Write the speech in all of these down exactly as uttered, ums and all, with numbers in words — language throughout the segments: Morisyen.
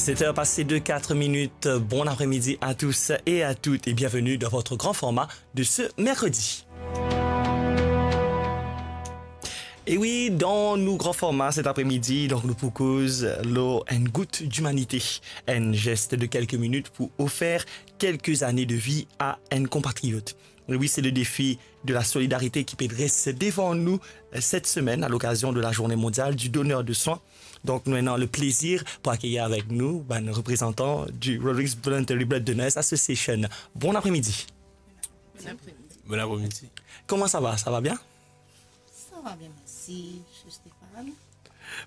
Sept heures passées de quatre minutes. Bon après-midi à tous et à toutes et bienvenue dans votre grand format de ce mercredi. E wi, dan nou gran forma set apremidi, donk nou pou koz lor enn gout dimanite, enn zes de kelke minit pou ofer kelke zane de vi a enn konpatriyot. E wi, se le defi de la solidarite ki pe dres devan nou, eh, set semenn a lokazion de la Journée mondiale du donneur de sang. Donk nou ena le plezir pou akeyir avek nou bann reprezantan du Rodrigues Voluntary Blood Donors Association. Bon apremidi. Bon apremidi. Bon apremidi. Koman sa va? Sa va bien? Ça va bien, merci, Monsieur Stéphane.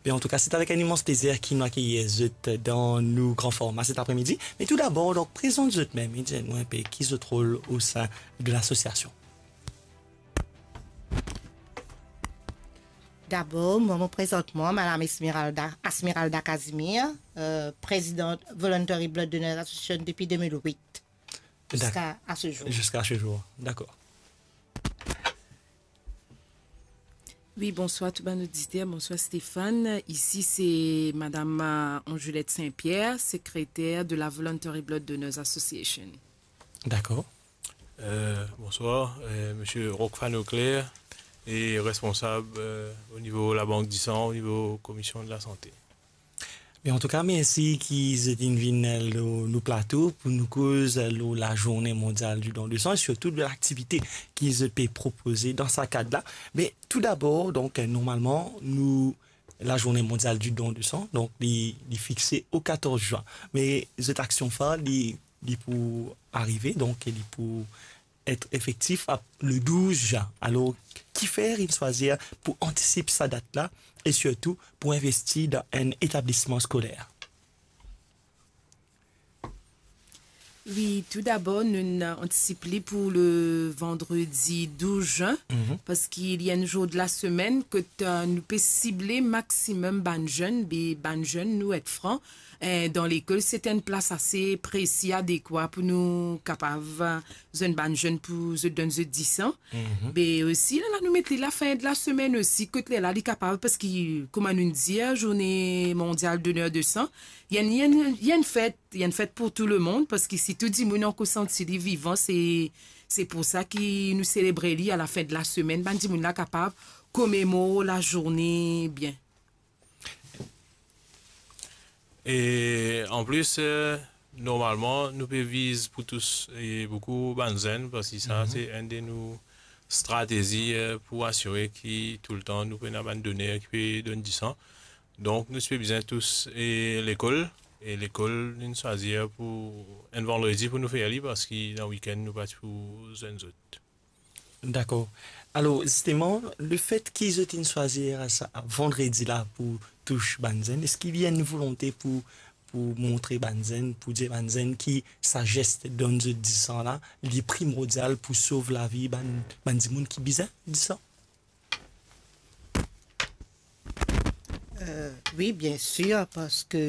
Bien, an tou ka, se avek enn imans plezir ki nou akeyir zot dan nou gran forma set apremidi. Me tou dabor, donk, prezant zot mem, e dir nou enpe ki zot rol o sein de lasosiasion. Dabor, mwa, mo prezant mwa, Madame Esmeralda, Esmeralda Casimir, euh, présidente Voluntary Blood Donors Association depuis deux mille huit, jusqu'à, à ce jour. Jusqu'à ce jour, d'accord. Oui, bonsoir tout bann oditer, bonsoir Stéphane. Ici, c'est Madame, euh, Angelette Saint-Pierre, secrétaire de la Voluntary Blood Donors Association. D'accord. Euh, bonsoir, euh, Monsieur Rockfan Auclair, e responsab, euh, o nivo Labank Disan, o nivo Komision de Lasante. Bien, an tou ka, mersi ki zot inn vinn lor nou plato pou nou koz lor la Journée mondiale du don de sang e sirtou de laktivite ki zot pe propoze dan sa kad la. Me tou dabor, donk, normalman, nou, la Journée mondiale du don de sang, donk, li, li fixe o katorz zin. Me zot aksion far, li, li pou arive, donk, li pou et efektif a le douz zin. Alor, kifer inn swazir pou antisip sa dat la e sirtou pou investi dan enn etablisman skoler? Wi, tou dabor, nou, nou antisip li pou le vandredi douz zin, mhm, parski li enn zour de lasemenn kot, euh, nou pe sible maximum bann zenn, be bann zenn, nou et fran, eh, dan lekol, se enn plas ase presi, adekwa pou nou kapav, eh, zwenn bann zenn pou zot donn zot disan. Mhm. Be osi, lerla nou met li lafin de lasemenn osi, kot lerla li kapav, parski, kouma nou dir, Journée mondiale donneur de sang, li enn, li enn, li enn fet, li enn fet pou tou lemonn, parski si tou dimoun ankor santi li vivan, se, se pou sa ki nou selebre li a lafin de lasemenn, bann dimoun la kapav komemor lazourne bien. E anplis, eh, normalman, nou pe viz pou tous e boukou bann zenn, parski sa, mhm, se enn de nou stratezi, eh, pou asire ki toultan nou pena bann doner ki pe donn disan. Donk, nou ti pe bizin tous e lekol, e lekol, nou swazir pou enn vandredi pou nou fer li, parski dan wikenn, nou pa ti pou zwenn zot. Dakor. Alor, zisteman, lefet ki zot inn swazir sa vandredi la pou tous bann zenn, eski li ena enn volonte pou, pou montre bann zenn, pou dir bann zenn ki sa zes donn zot disan la, li primordial pou sov lavi bann, bann dimoun ki bizin disan? Euh, wi, bien sir, parski,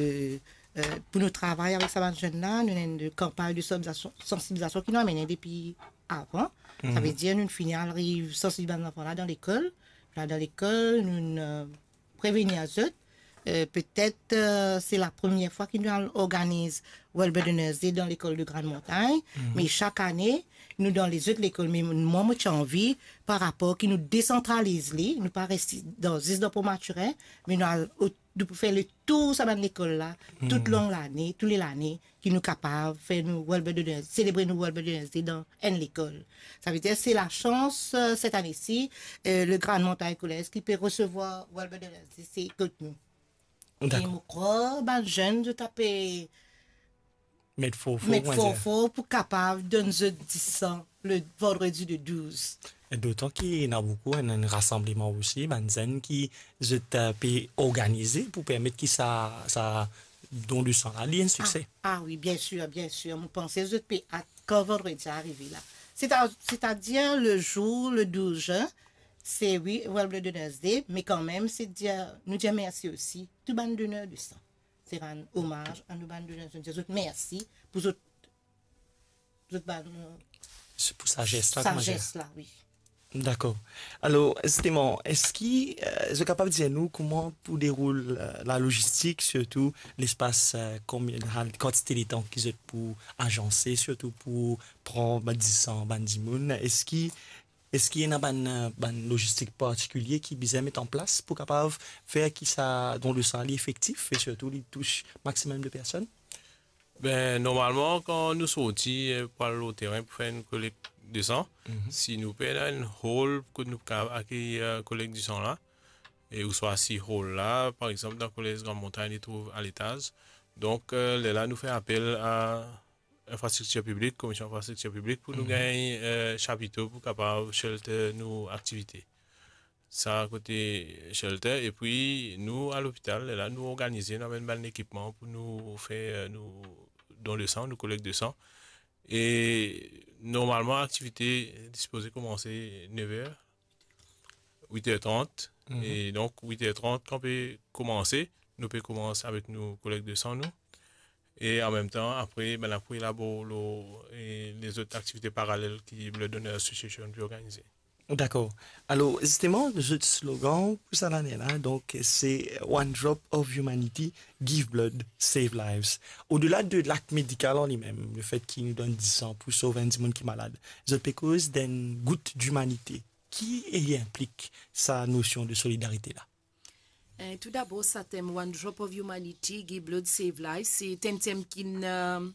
euh, pou nou travay avek sa bann zenn la, nou ena enn kanpagn de sansibilizasion, sansibilizasion ki nou amenn depi avan. Sa, mhm, ve dir nou fini al ariv sansibiliz bann zanfan la dan lekol. La dan lekol, nou, euh, prevenir zot. Euh, petet, euh, se la premie fwa ki nou al organiz World Blood Donors Day dan lekol de Grande Montagne, mhm, me sak ane, nou dan lezot lekol, me mwa, mo ti anvi, par rapor ki nou desantraliz li, nou pa res dan, zis dan Port Mathurin, me nou al o-, nou pou fer letour sa bann lekol la, tout, mhm, long lane, tou le lane, ki nou kapav fer nou World Blood Donors, selebre nou World Blood Donors Day dan enn lekol. Sa ve dir, se lasans, euh, set ane si, euh, le Grande Montagne Collège ki pe resevwar World Blood Donors Day, se kot nou. Dakor. E mo krwar bann zenn, zot ape met for for, met for for pou kapav donn zot disan le vandredi de douz. E dotan ki ena boukou enn, enn rasanbleman osi, bann zenn ki zot, euh, pe organize pou permet ki sa, sa don de san la, li enn sikse. Ah, ah wi, bien sir, bien sir. Mo panse zot pe at kan vandredi arive la. Seta-, setadir le zour, le douz zin, se, wi, World Blood Donors Day, me kanmem, se dir, nou dir mersi osi tou bann doner de san. Se rann omaz a nou bann doner, nou dir zot mersi pou zot, zot bann, se pou sa zes la, sa kouma dir? Zes la, wi. Dakor. Alor, zisteman, eski, eh, zot kapav dir nou kouma pou deroul, eh, lalogistik, sirtou lespas, eh, konbien, kantite letan ki zot pou azanse, sirtou pou pran bann disan bann dimoun? Eski, eski ena bann, eh, bann logistik partikilie ki bizin met an plas pou kapav fer ki sa don de san li efektif e sirtou li tous maximum de personn? Ben, normalman, kan nou sorti, eh, pou al lor terin pou fer enn kolek de san, Mhm. si nou pe ena enn hall kot nou kapav akeyir, eh, kolek de san la, e ouswa si hall la, par exanp, dan Kolez Gran Montagn, li trouv aletaz. Donk, eh, lerla nou fer apel a infrastriktir piblik, Komisyon Infrastriktir Piblik, pou nou Mhm. gagn, eh, chapito pou kapav shelter nou aktivite. Sa kote shelter, epi nou, a lopital, lerla nou organize, nou amenn bann lekipman pou nou fer, eh, nou don de san, nou kolek de san. E normalman, aktivite sipoze koumanse nev er, wit er trant. Mhm. E donk, wit er trant, kan pe koumanse, nou pe koumans avek nou kolek de san, nou. E an mem tan, apre, bann la pou elabor lor, e, lezot aktivite paralel ki Blood Donor Association pe organize. Dakor. Alor, zisteman, zot slogan pou sa lane la, donk, se One drop of humanity, give blood, save lives. Odela de lakt medikal an limem, lefet ki nou donn disan pou sov enn dimoun ki malad, zot pe koz d'enn gout dimanite. Ki li inplik sa nosion de solidarite la? Eh, toudabor, sa tem One Drop of Humanity, Give Blood, Save Life, se enn tem ki'nn, eh,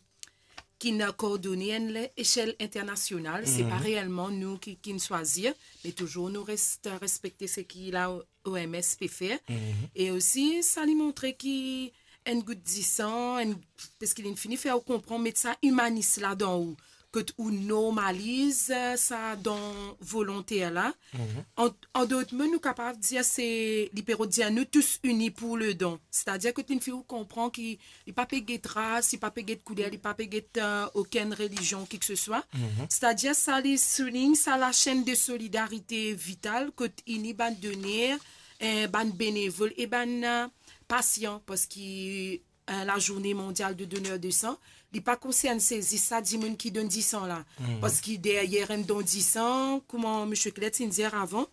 ki'nn kordone enn le-, echel internasional. Se pa Mhm. reelman nou ki, ki'nn swazir, me touzour nou res-, respekte seki la O M S pe fer. Mhm. E osi, sa li montre ki enn gout disan, enn, parski li'nn fini fer ou konpran, met sa imanis ladan ou, kot ou normaliz, eh, sa don volonter la. Mhm. An, an dot mo, nou kapav dir se, li pe rod dir nou tous unis pour le don. Setadir kot li'nn fer ou konpran ki li pa pe get ras, li pa pe get kouler, li pa pe get, eh, okenn relizion, ki ke se swa. Mhm. Setadir sa li soulign sa lasenn de solidarite vital kot ini bann doner, eh, bann benevol e bann, eh, pasian, parski, eh, lazourne mondial de doneur de san, li pa konsern se zis sa dimoun ki donn disan la. Mhm. Parski deryer enn don disan, kouma misie Clet inn dir avan,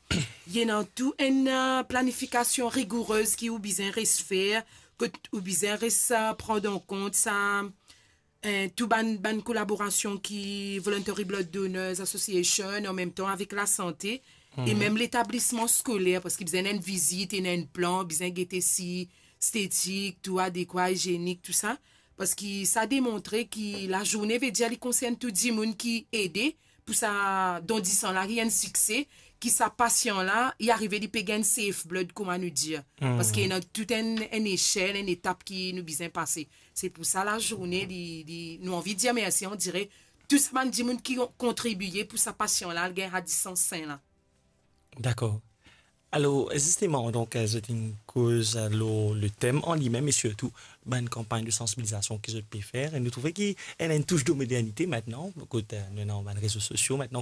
li ena tou enn, eh, planifikasion rigourez ki ou bizin res fer, kot ou bizin res, eh, pran an kont sa, eh, tou bann, bann kolaborasion ki Voluntary Blood Donors Association, an mem tan avek lasante, e Mhm. mem letablisman skoler, parski bizin enn vizit, ena enn plan, bizin gete si estetik, tou adekwa, izienik, tou sa. Parski sa demontre ki lazourne, vedir li konsern tou dimoun ki ede, pou sa don disan la, li enn sikse, ki sa pasian la, li arive, li pe gagn safe blood, kouma nou dir. Mhm. Parski ena tou enn, enn echel, enn etap ki nou bizin pase. Se pou sa lazourne, li, li, nou anvi dir mersi, on dirait, tou sa bann dimoun ki kontribie pou sa pasian la, al gagn sa disan sin la. Dakor. Alor, zisteman, donk, eh, zot inn koz, eh, lor le tem an limem e sirtou bann kanpagn de sansibilizasion ki zot pe fer. E nou trouve ki ena enn tous de modernite aster, kot, eh, nou ena bann rezo sosio aster,